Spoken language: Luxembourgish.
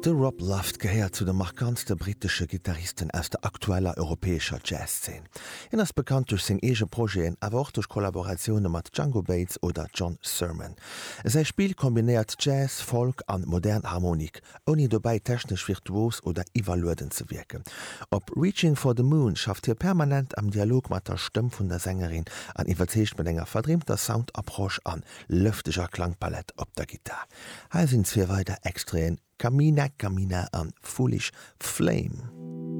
De Rob Luft gehéiert zu de markantste brittesche Gittaristen aus der aktueller europäescher Jazzszen. Hien ass bekannt duerch seng eege Projeten, awer och duerch Kollaboratioune mat Django Bates oder John Surman. Säi Spill kombinéiert Jazz, Folk an modern Harmonik, ouni dobäi technesch virtuos oder iwwerlueden ze wierken. Op Reaching for the Moon schafft hie permanent am Dialog mat der Stëmm vun der Sängerin an iwwerzeegt mat enger verdreemter Sound-Approche an lëfteger Klangpalett op der Gittar. Hei sinn zwee weider Extraiten, Camina Camina an Foolish Flame.